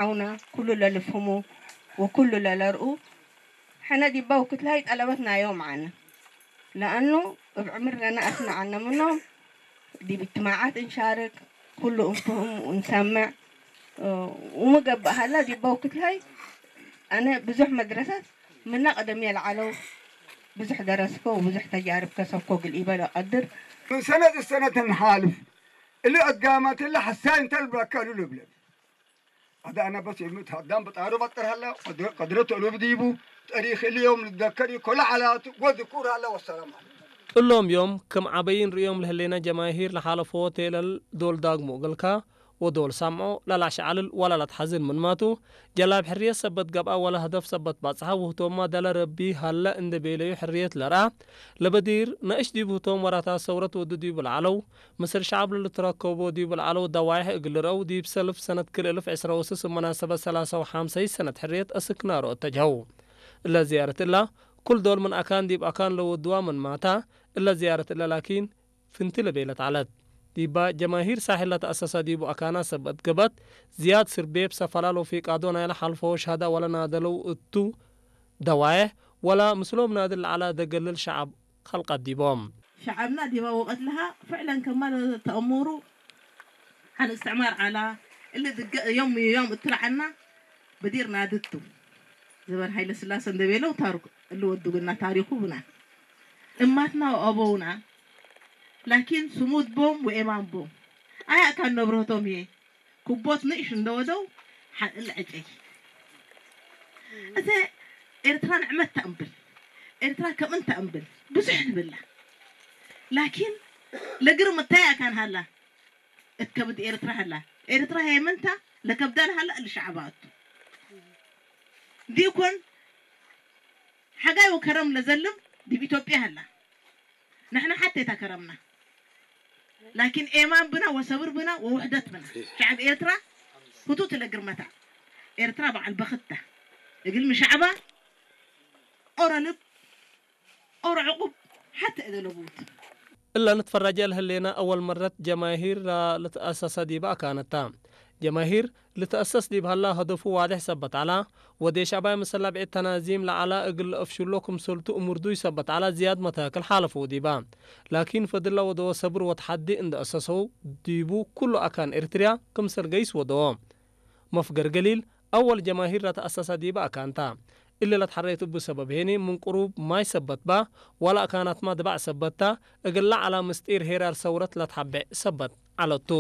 عونا كل للفهمه وكل للرؤو. حنا دي باو كتلاي طلبتنا يوم عنا، لأنه بعمر لنا أسمع عنا منهم. دي باجتماعات نشارك، كل نفهم ونسمع. ومقبأ هلا دي باو كتلاي أنا بزح مدرسة من قدم يلعلو بزح درسكو وبزح تجارب كسبكو قل إبالو قدر. من سنة السنة نحالف اللي أقامت اللي حساين تلبى كالو لبلب. هذا أنا بس يموت هدام بطارو بطر هلا قدرته له بديبو. تاريخ اليوم نتذكر كل على وذكور هلا والسلام عليكم. ጥሎም እዮም ከም ዓበይን ርእዮም ለህሌና ጀማሂር ለሓለፎ ቴለል ዶል ዳግሞ ገልካ ወዶል ሳምዖ ላላሽ ዓልል ዋላ ላትሓዝን ምንማቱ ጀላብ ሕርየት ሰበት ገብኣ ዋላ ህደፍ ሰበት ባጽሓ ውህቶማ ደለ ረቢ ሃለ እንደ ቤለዩ ሕርየት ለርኣ ለበዲር ነእሽ ዲብ ህቶም ወራታ ሰውረት ወዱ ዲቡ ለዓለው ምስል ሸዓብ ለልትረከቦ ዲቡ ለዓለው ደዋይሕ እግል ርአው ዲብ ሰልፍ ሰነት ክልእልፍ ዕስራ ወስስ መናሰበት ሰላሳ ወሓምሰይ ሰነት ሕርየት እስክናሮ እተጅሀው። እለ ዝያረት እላ ኩል ዶል ምን ኣካን ዲብ ኣካን ለወድዋ ምን ማታ እለ ዝያረት እለ ላኪን ፍንቲ ለቤለት ዐለት። ዲባ ጀማሂር ሳሕል ለተአሰሰ ዲቡ ኣካና ሰበት ገበት ዝያድ ስርቤ ብሰፈላል ወፊቃዶ ናይለ ሐልፎ ሸህዳ ወለናደለው እቱ ደዋየሕ ወላ ምስሎም ናድል ለዐላ ደገልል ሸዐብ ኸልቀት ዲቦም። ሸዐብና ዲባ ወቀት ለሃ ፍዕለን ከማል ተአሙሩ ሐን እስትዕማር ዐላ እሊ ድገ ዮም ዮም እትለዐና በዲር ናድቱ ዘበን ሀይለ ስላሰ እንደቤለው ታሩክ እሊ ወዱግና ታሪኩ ብና እማትና ወአበውና ላኪን ስሙድ ቦም ወኤማን ቦም ኣያ እካ ነብረህቶም እየ ክቦት ንእሽ እንደወደው ሓእል ዕጨይ እተ ኤርትራ ንዕመት ተእምብል ኤርትራ ከምእን ተእምብል ብዙሕ ንብላ ላኪን ለግርም እታይ ኣካን ሃላ እትከብድ ኤርትራ ሃላ ኤርትራ ሄመንታ ለከብዳ ለሃላ እልሻዕባ እቱ ዲኮን ሓጋይ ወከረም ለዘልም ዲብ ኢትዮጵያ ሃላ ንሕና ሓቴታ ከረምና ላኪን ኤማን ብና ወሰብር ብና ወውሕደት ብና ሸዕብ ኤርትራ ህቱት ለግርመታ ኤርትራ በዓል በኽታ እግል ምሻዕባ ኦረ ልብ ኦረ ዕቁብ ሓተ እደለቡት። እላ ንትፈራጀ ለህሌና አወል መረት ጀማሂር ልትአሰሰ ዲበ አካነታ። ጀማሂር ልትአሰስ ዲብ ሀላ ሀደፉ ዋዴሕ ሰበት ዐላ፣ ወዴሽ አባይ መሰላብዒት ተናዚም ለዐላ እግል ለአፍሽሎ ክምሰልቱ እሙርዱይ ሰበት ዐላ ዝያድ መታክል ሓለፈው ዲባ። ላኪን ፈድላ ወደወ ሰብር ወተሓዲ እንደ አሰሰው ዲቡ ኩሉ አካን ኤርትርያ ክምሰል ገይስ ወደወ። መፍገር ገሊል አወል ጀማሂር ለተአሰሰ ዲበ አካንታ። እሊ ለትሐረየት እቡ ሰበብ ሄኒ ምን ቅሩብ ማይ ሰበት ባ፣ ዋላ አካናትማ ድባዕ ሰበትታ፣ እግል ለዐላ ምስጢር ሄራር ሰውረት ለትሐቤዕ ሰበት ዐለቱ።